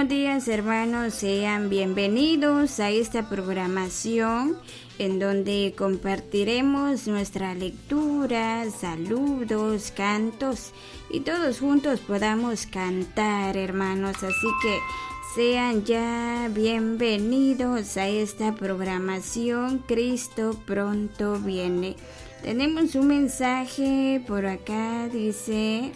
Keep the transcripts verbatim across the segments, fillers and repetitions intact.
Buenos días, hermanos, sean bienvenidos a esta programación en donde compartiremos nuestra lectura, saludos, cantos y todos juntos podamos cantar, hermanos. Así que sean ya bienvenidos a esta programación. Cristo pronto viene. Tenemos un mensaje por acá, dice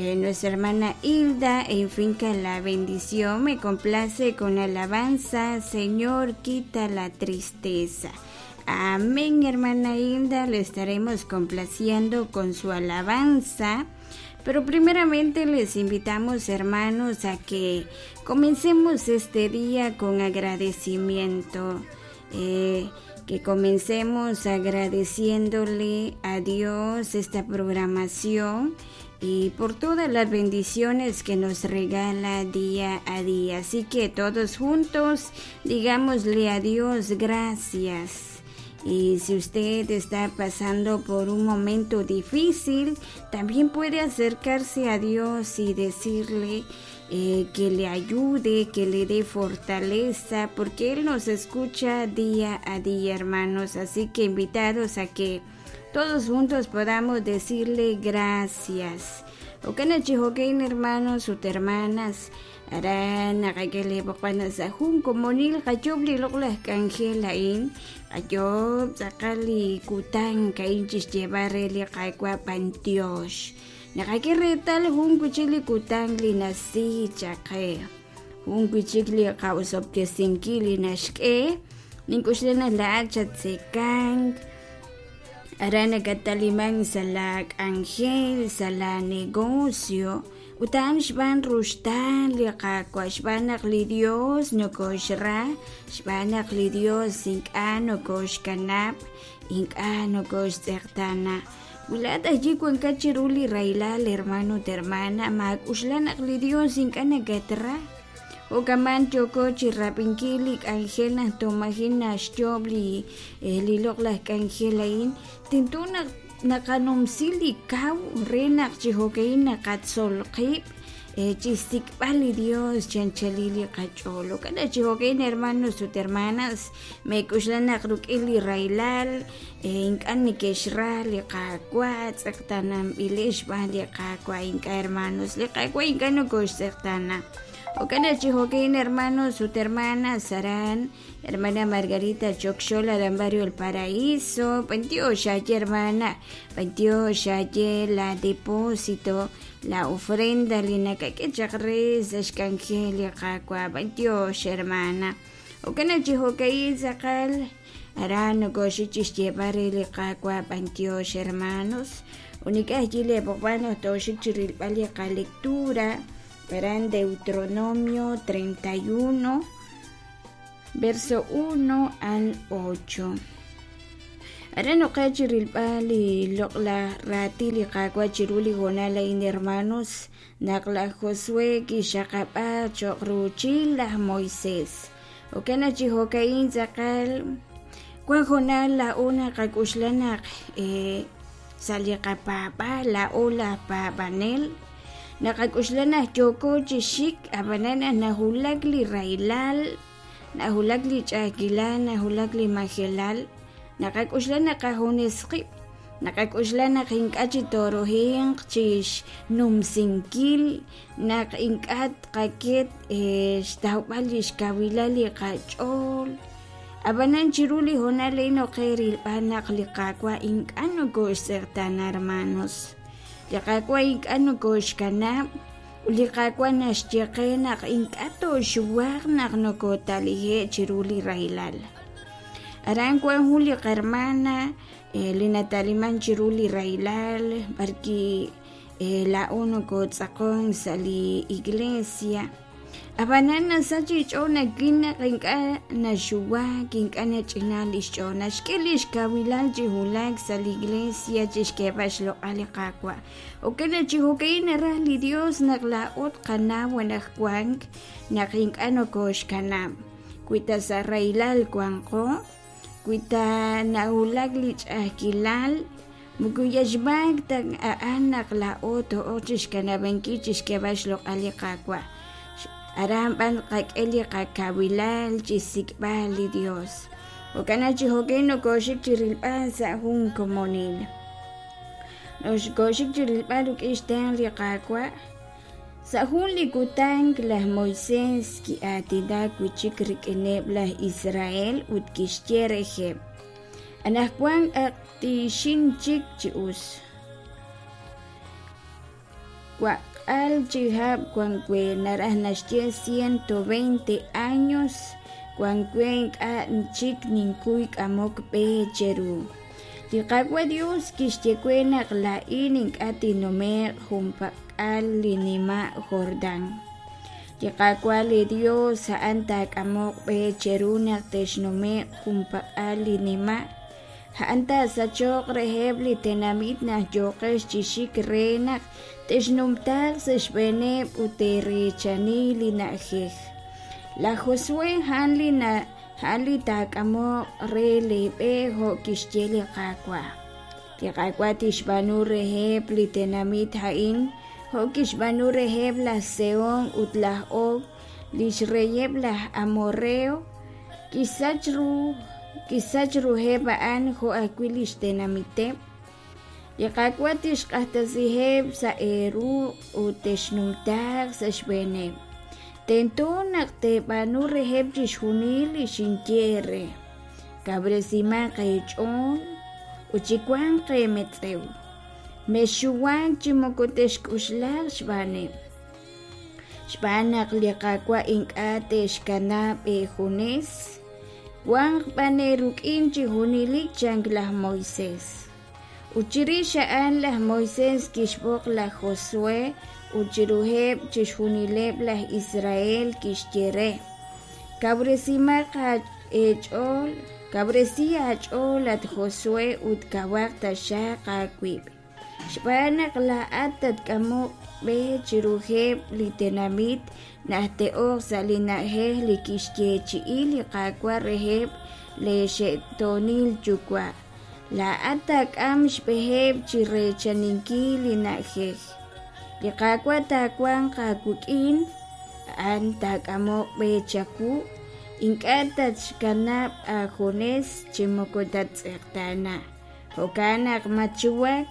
eh, nuestra hermana Hilda en Finca La Bendición. Me complace con alabanza, Señor, quita la tristeza. Amén, hermana Hilda, le estaremos complaciendo con su alabanza. Pero primeramente les invitamos, hermanos, a que comencemos este día con agradecimiento. Eh, que comencemos agradeciéndole a Dios esta programación y por todas las bendiciones que nos regala día a día. Así que todos juntos digámosle a Dios gracias. Y si usted está pasando por un momento difícil, también puede acercarse a Dios y decirle eh, que le ayude, que le dé fortaleza, porque Él nos escucha día a día, hermanos. Así que invitados a que todos juntos podamos decirle gracias. Okana hermanos, ut hermanas, aran naqakele boqana sa jun komonil qayob li loq'laj k'anjel a'in qayob tz'aqal li kutan ka'in chixyeeb'al re li Qaawa' b'antiox naqak'e reetal jun wichik li kutan li nasi chaqe jun wichik li qa'osob'tesinkil li naxk'e nink'uxla la'at xatzekank aran nakataliman sa la k'anjel sa la negocio utan xb'aan ruxtaan li Qaawa' xb'aan naq li Dios nokoxra xb'aan naq li Dios ink'a' nokoxkanab' ink'a' nokoxtz'eqtaana wi laa'at ayi wankat chiru li rahilal hermano ut hermana maak'uxla naq li Dios ink'a' nakatra jo'kaman yooko chirab'inkil li k'anjel naq tomajin naxyoob' li li loq'laj k'anjel a'in tento naq naqanumsi li kaw re naq chi jo'ka'in naqatzol qib' chixsik'b'al li Dios chanchalil li qach'ool jo'kan chi jo'ka'in hermanos ut hermanas meek'uxla naq ruk'in li rahilal ink'a' neke'xra li Qaawa' tz'eqtaananb'ilex xb'aan li Qaawa' ink'a' hermanos li Qaawa' ink'a' nokoxtz'eqtaana jo'kan chi jo'ka'in hermanos ut hermanas aran hermana Margarita Chocxol aran barrio El Paraíso b'antiox xaye hermana b'antiox xaye la depósito la ofrenda li nakak'e chaq re sa' xk'anjel li Qaawa' b'antiox hermana jo'kan chi jo'ka'in tz'aqal aran nokoxik chixyeeb'al re li Qaawa' b'antiox hermanos unik'aj yile boqb'an toxik chirilb'al li qalectura verán Deuteronomio treinta y uno, verso uno al ocho. Ahora no cachirilpali loqla ratili qakwachiruli gonala in hermanos naqla Josué kixaqapa choqruchil laj Moisés. Okana chihokain tzaqal kwan jonal la una qakuxlanaq eh saliqapapa la ola papanel naqak'uxlanaj yoko chixik abanana nahulak li railal nahulak li ch'akilal nahulak li majelal naqak'uxlanaj qajunesqib' naqak'uxlanaj ink'a' chitorohinq chix numsinkil naq ink'a' tqaket xtawb'al li xkawilal li qach'ool abanan chiru li jonal inoqerilb'al naq li Qaawa' ink'a' nokoxtz'eqtaana hermanos li Qaawa' ink'a' nokoxkanab' li Qaawa' naxyeqe naq ink'a' toxuwaq naq nokotalije' chiru li rahilal aran wan jun li qarmana li nataliman chiru li rahilal barki la'o nokotz'aqon sa' li iglesia abanan nasa chich'ool nakin naq ink'a' naxuwak ink'a' nach'inal li xch'ool naxk'e li xkawilal chi hulak sa' li iglesia chixk'eeb'al xloq'al li Qaawa' okana chi jo'ka'in naraj li Dios naq la'o tqanaw anajwank naq ink'a' nokoxkanab' wi ta sa' rahilal wanqo wi ta nahulak li ch'a'ajkilal muku yaxb'ak ta a'an naq la'o to'oq chixkanab'ankil chixk'eeb'al xloq'al li Qaawa' Aran b'an qak'e li qakawilal chi xsik'b'al li Dios. Jo'kan chi jo'kan nokooxik chi rilb'al sa' jun komonil. Noxkoxik chi rilb'al rik'in xtenq' li Qaawa'. Sa' jun li kutan laj Moisés ki'aatinak wi' chik rik'ineb' laj Israel ut kixye reheb': Anaqwan ak tiixin chik chi us. Waqk'aal chihab' wank we, naraj naxye ciento veinte años wank we, ink'a' chik ninkuy k'amok b'e cheru. Li Qaawa' Dios kixye we naq laa'in ink'a' tinnume'q junpak'al li nima' Jordán. Li Qaawa' li Dios a'an taak'amoq b'e cheru naq texnume'q junpak'al li nima'. A'an taasachoq reheb' li tenamit naq yooqex chi xik re naq texnumtaaq sa' xb'eeneb' ut teereechani li na'ajej. Laj Josué a'an li a'an li taak'amoq re leeb'e jo' kixye li Qaawa'. Li Qaawa' tixb'aanu reheb' li tenamit a'in jo' kixb'aanu reheb' laj Sehón ut laj Og, li xreyeb' laj Amorreo. Kixsach ru kixsach ruheb' a'an jo' ajwi' li xtenamiteb'. Li Qaawa' tixq'axtesiheb' sa' eeruq' ut texnumtaaq sa' xb'eeneb'. Tento naq teeb'aanu reheb' chixjunil li xinye eere. Kawresimaq eech'ool ut chiwanq eemetz'ew. Mexxuwak chi moko texk'uxlaq xb'aaneb'. Xb'aan naq li Qaawa' ink'a' texxkanab' eejunes, wanq b'an eerik'in chi junelik, chan laj Moisés. Ut chirix a'an laj Moisés kixb'oq laj Josué ut chiruheb' chixjunileb' laj Israel kixye re: Kawresimaq eech'ool, kawresi aach'ool at Josué ut kawaq taxaq aawib', xb'aan naq laa'at tatk'amoq b'e chiruheb' li tenamit naq te'ok sa' li na'ajej li kixyeechi'i li Qaawa' reheb' leexe'toonil yuwa'. Laa'at taak'am xb'eheb' chi reechaninkil li na'ajej. Li Qaawa' taawanq aawik'in, a'an taak'amoq b'e chawu, ink'a' tatxkanab' aajunes chi moko tattz'eqtaana. Jo'kan naq matxuwak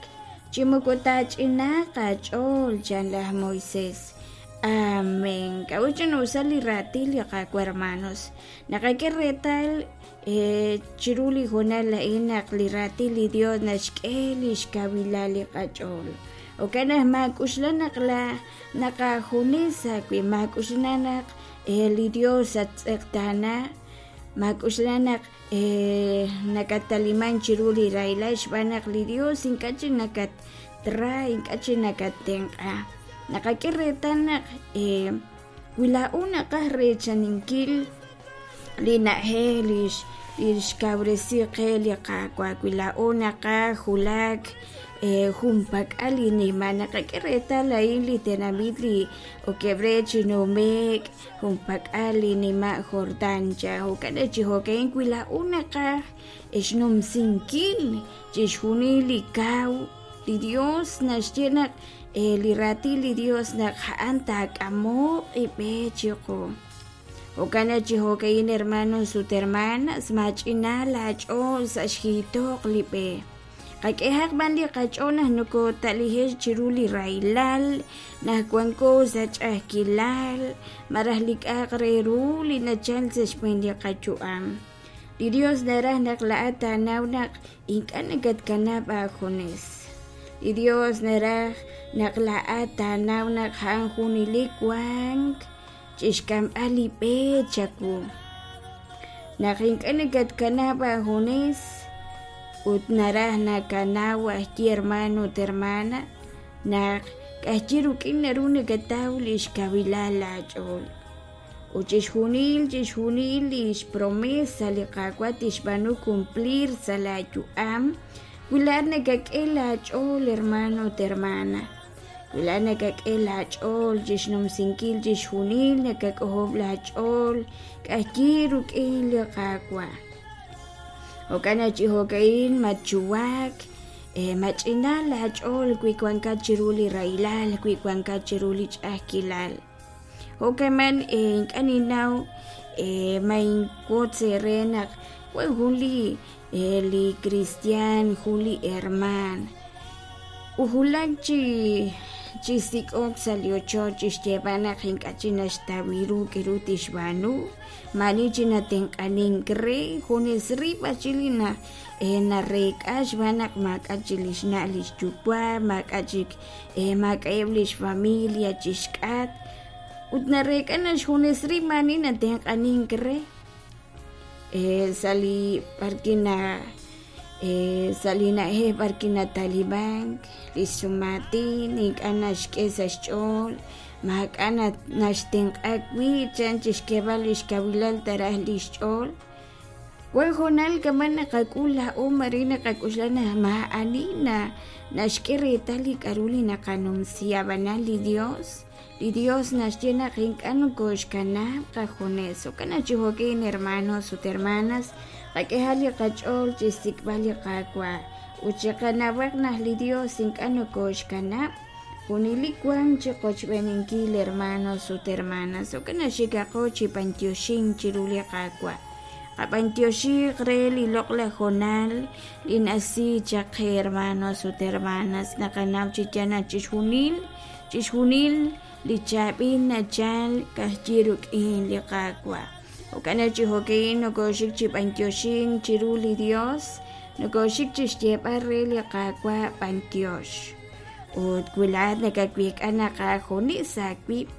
chi moko taach'inaaq aach'ool, chan laj Moisés. Amén. K'a'ut ch'ina'usal li raatin li Qaawa', hermanos. Naqak'e reetal chiru li hoonal a'in naq li raatin li Dios naxk'e li xkawilal li qach'ool. Jo'kan naq maak'uxla naq la naq aajunes aawib', maak'uxla naq li Dios attz'eqtaana, maak'uxla naq nakataliman chiru li rahilal xb'aan naq li Dios ink'a' chi nakatra, ink'a' chi nakattenq'a. Naqak'e reetal naq wi laa'o naqaj reechaninkil li na'ajej li xkawresi qe li Qaawa', wi laa'o naqaj wulak junpak'al li nima', naqak'e reetal a'in li tenamit li okeb' re chi nume'k junpak'al li nima' Jordán cha. Jo'kan chi jo'kan wi laa'o naqaj xnumsinkil chixjunil li kaw, li Dios naxye naq li raatin li Dios naq a'an taak'amoq ib'e chiqu. Jo'kan chi jo'kan hermanos ut hermanas, maach'ina laach'ool sa' xjiitoq li b'e. Qak'ehaq b'an li qach'ool naq nokootalije' chiru li rahilal, naq wanko sa' ch'a'ajkilal, malaj li k'a'aq re ru li nachal sa' xb'een li qayu'am. Li Dios naraj naq laa'at taanaw naq ink'a' nakatkanab' aajunes. Li Dios naraj naq laa'at taanaw naq a'an junelik wank chixk'amb'al li b'e chawu. Naq ink'a' nakatkanab' aajunes ut naraj nakanaw ajwi' hermano ut hermana naq k'ajyi rik'in naru nakataw li xkawilal laach'ool. Ut chixjunil chixjunil li xpromesa li Qaawa' tixb'aanu cumplir sa' laayu'am wi laa'at nakak'e laach'ool hermano ut hermana. Wi laa'at nakak'e laach'ool chixnumsinkil chixjunil, nakak'ojob' laach'ool k'ajyi rik'in li Qaawa'. Jo'kan chi jo'kan matxuwak, mach'ina laach'ool wi wankat chiru li rahilal, wi wankat chiru li ch'a'ajkilal. Jo'kaman ink'a' ninnaw ma inwotz eere naq wan jun li li cristian jun li hermaan ujulak chi chi sik'ok sa' li ochoch chixyeeb'al naq ink'a' chik naxtaw ru k'aru tixb'aanu maa'ani chik natenq'anink re junes rib' chi li na nareek'a xb'aan naq maak'a' chik li xna' li xyuwa' maak'a' chik maak'a'eb' li xfamilia chixk'atq ut nareek'a naq xjunes rib' maa'ani natenq'anink re sa' li b'arwi' na sa' li na'ajej b'arwi' natalimank li xsumaatin ink'a' naxk'e sa' xch'ool maak'a' naxtenq'a wi' chan chixk'eeb'al li xkawilal taraj li xch'ool wan hoonal kama' naqak'ul laa'o mare naqak'oxla naq maa'ani na naxk'e reetal li k'a'ru li naqanumsi ab'anan li Dios li Dios naxye naq ink'a' nokoxkanab' qajunes jo'kan naq chi jo'kan hermanos ut hermanas qak'ehaq li qach'ool chixsik'b'al li Qaawa' ut chiqanawaq naq li Dios ink'a' nokoxkanab' junelik wan chi qochb'eeninkil hermanos ut hermanas jo'kan naq xikaqo chi b'antioxink chiru li Qaawa' qab'antioxiq re li loq'laj hoonal li nasi chaq qe hermanos ut hermanas naqanaw chi yaal naq chixjunil chixjunil li chaab'il nachal ka'ajwi' rik'in li Qaawa' jo'kan naq chi jo'kan nokoxik chi b'antioxink chiru li Dios nokoxik chixyeeb'al re li Qaawa' b'antiox ut wi laa'at nakaweek'a naq aajunes aawib'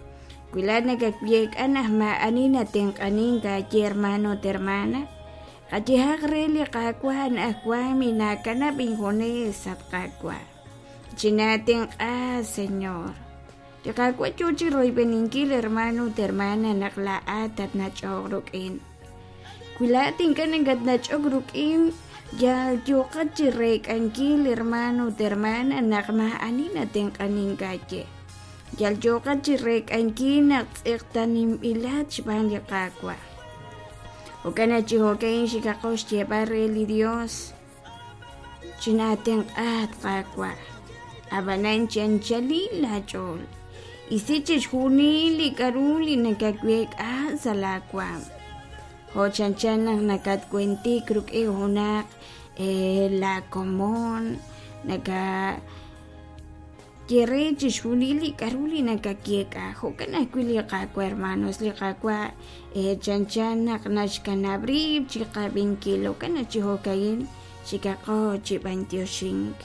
wi laa'at nakaweek'a naq maa'ani natenq'anink aaye hermano ut hermana qayehaq re li Qaawa' anaqwan minaakanab' injunes at Qaawa' chinatenq'a Señor li Qaawa' yoo chi royb'eninkil hermano ut hermana naq laa'at tatnach'oq rik'in wi laa'at ink'a' nakatnach'ok rik'in yal yooqat chi reek'ankil hermano ut hermana naq maa'ani natenq'anink aaye yal yooqat chi reek'ankil naq tz'eqtaninb'ilat xb'aan li Qaawa' jo'kan naq chi jo'kan xikaqo xyeeb'al re li Dios chinatenq'a at Qaawa' ab'anan chi anchalil laach'ool isi chixjunil li k'a'ru li nakaweek'a sa' laawaam jo' chanchan naq nakatwentik rik'in junaq laakomon naka ye re chixjunil li k'a'ru li nakayeek'a jo'kan ajwi' li Qaawa' hermanos li Qaawa' chanchan naq naxkanab' rib' chi qab'inkil jo'kan naq chi jo'ka'in xikaqo chi b'antioxink.